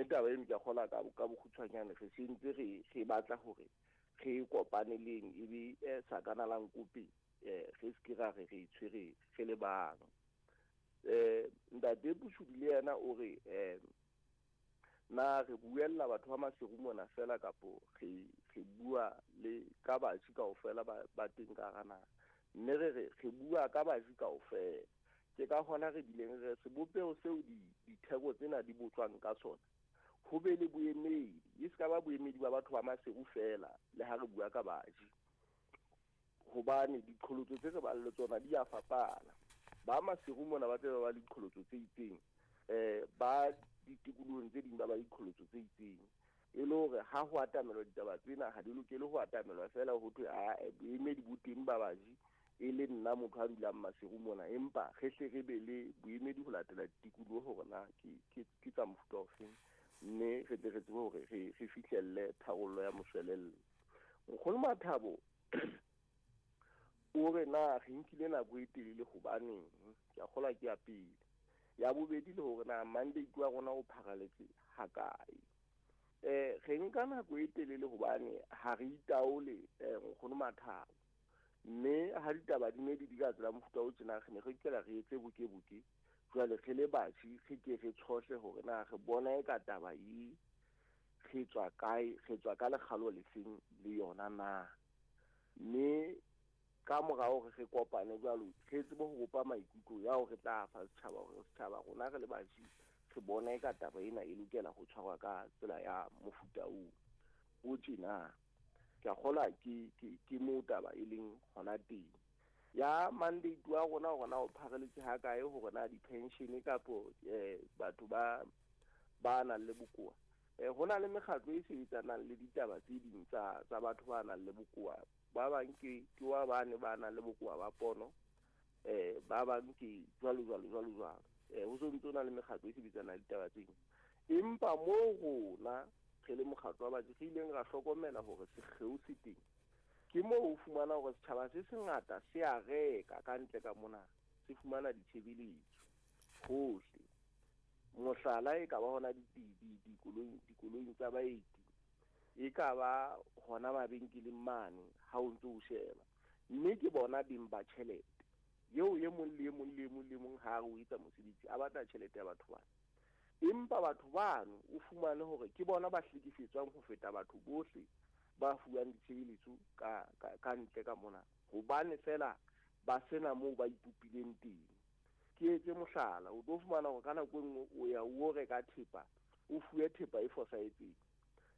Mme taba eno ke a kgolwa ka ka bokgutshwanyane re sentse re re batla hore re e kopaneleng e be eh, sakana la nkope eh, re se ke ra re re e tshwere re le bang. Eh, Ntate Pushudi le yena o re eh, na re buella batho ba Maseru mona feela kapo re re bua le ka baji kaofela ba ba teng ka hara naha? Mme re re re bua ka baji kaofela. Ke ka hona re bileng re sebopeho seo di ditheko tsena di botswang ka sona ho be le boemedi, e se ka ba boemedi ba batho ba Maseru feela le ha re bua ka baji. Hobane diqholotso tse re bang le tsona di a fapana. Ba Maseru mona ba tse ba ba le diqholotso tse itseng, eh ba ditikolohong tse ding ba ba diqholotso tse itseng. E le hore ha ho atamelwa ditaba tsena ha di lokele ho atamelwa feela ho thwe ae boemedi bo teng ba baji e le nna motho a dulang Maseru mona, empa re hle re be le boemedi ho latela ditikoloho hore na ke ke ke tsa mofuta ofeng, mme re tle re tsebe hore re re fihlelle tharollo ya moshwelella. Nkgono Mathabo o re na re nkile nako e telele hobaneng? Ke a kgolwa ke ya pele. Ya bobedi le hore na mandate wa rona o pharaletse hakae. Eh re nka nako e telele hobane ha re itaole eh nkgono Mathabo. Mme ha ditaba di ne di di ka tsela mofuta o tjena re ne re kela re etse boke-boke. Jwale re le batjhi re ke re tshohle hore na re bona e ka taba e re tswa kae, re tswa ka lekgalo lefeng le yona na. Mme ka mora hore re kopane jwalo, re tsebe ho bopa maikutlo ya hore re tla fa setjhaba hore setjhaba rona re le batjhi re bona eka taba ena e lokela ho tshwarwa ka tsela ya mofuta oo o tjena. Ke a kgolwa ke ke ke moo taba e leng hona teng. Ya mandate wa rona hore na o phareletse ha kae hore na di-pension kapo eh batho ba ba nang le bokowa. Eh, ho na le mekgatlo e sebetsanang le ditaba tse ding tsa tsa batho ba nang le bokowa. Ba bang ke ke wa bane ba nang le bokowa ba pono, eh ba bang ke jwalo jwalo jwalo jwalo. Eh ho so ntse na le mekgatlo e sebetsanang le ditaba tse ding. Empa mo rona re le mokgatlo wa batho re ileng ra hlokomela hore sekgeo se teng. Ke moo o fumana hore setjhaba se sengata se a reka ka ntle ka mona, se fumana ditshebeletso hohle. Mohlala e ka ba hona dikoloing dikoloing tsa baeti, e ka ba hona mabenkeleng mane ha o ntso o sheba. Mme ke bona beng ba tjhelete eo e mong le e mong le e mong le e mong ha re o etsa mosebetsi a batla tjhelete ya batho bana. Empa batho bano o fumane hore ke bona ba hlekefetswang ho feta batho bohle ba fuwang ditshebeletso ka ka ka ntle ka mona, hobane feela ba sena moo ba ipopileng teng. Ke etse mohlala, o tlo fumana hore ka nako e nngwe o ya o reka thepa, o fuwe thepa e fosahetseng.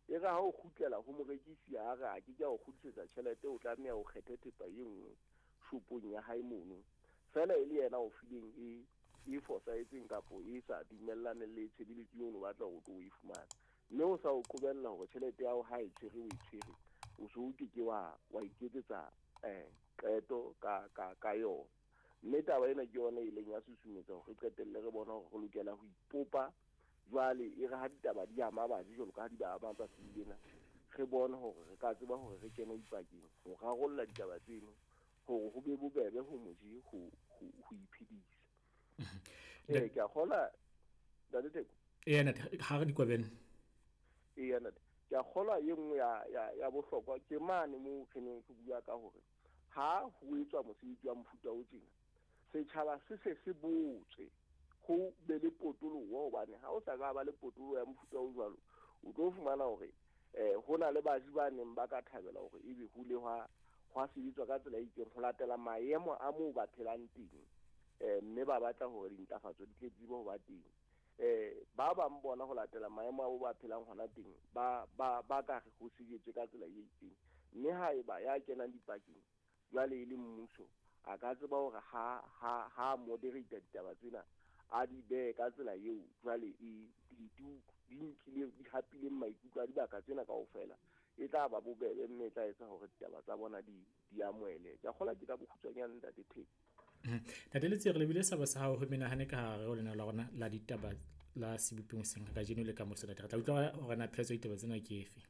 E re ha o kgutlela ho morekisi a re a ke ke a o kgutlisetsa tjhelete, o tlameha o kgethe thepa e nngwe shopong ya hae mono. Feela e le yena o fileng e e fosahetseng kapo e sa dumellaneng le tshebeletso eo o no batla hore o tlo o e fumana. Mme o sa o qobella hore tjhelete ya hao ha e tshwere o e tshwere, o so o ke ke wa wa iketsetsa eh qeto ka ka ka yona. Mme taba ena ke yona e ileng ya susumetsa hore re qetelle re bona hore re lokela ho ipopa jwale e re ha ditaba di ama baji jwalo ka ha di ba ama tsatsing lena, re bone hore re ka tseba hore re kene dipakeng ho rarolla ditaba tseno hore ho be bobebe ho moji ho ho ho iphedisa. Ee, ke a kgolwa Ntate Theko. Eya ntate, ha re dikwabene. Eya ntate, ke a kgolwa e nngwe ya ya ya bohlokwa ke mane moo re neng re bua ka hore ha ho etswa mosebetsi wa mofuta o tjena, setjhaba se se se botswe ho be le potoloho, hobane ha o sa ka ba le potoloho ya mofuta o jwalo, o tlo fumana hore eh ho na le baji ba neng ba ka thabela hore ebe ho le hwa hwa sebetswa ka tsela e itseng ho latela maemo a moo ba phelang teng, eh mme ba batla hore dintlafatso di tle tsebe ho ba teng. Eh ba bang bona ho latela maemo a bo ba phelang hona teng ba ba ba ka re ho sebetswe ka tsela e itseng, mme haeba ya kenang dipakeng jwale e le mmuso a ka tseba hore ha ha ha moderate ditaba tsena a di behe ka tsela eo jwale e di di di nkile di hapileng maikutlo a dibaka tsena kaofela, e tla ba bobebe mme e tla etsa hore ditaba tsa bona di di amohele. Ke a kgolwa ke ka bokgutshwanyane Ntate Theko. Ntate Letsie, re lebile sabo sa hao ho menahane ka hare ho lenaneo la rona la ditaba la sebopeng seng kajeno le ka moso ntate. Re tla utlwa hore na pheletso ya ditaba tsena ke efe.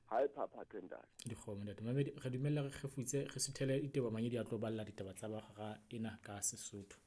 Ha e phaphathwe ntate. Dikgomo ntate. Mamedi, re dumella re kgefutse re suthele Diteboho Manyedi a tlo balla ditaba tsa ba hora ena ka Sesotho.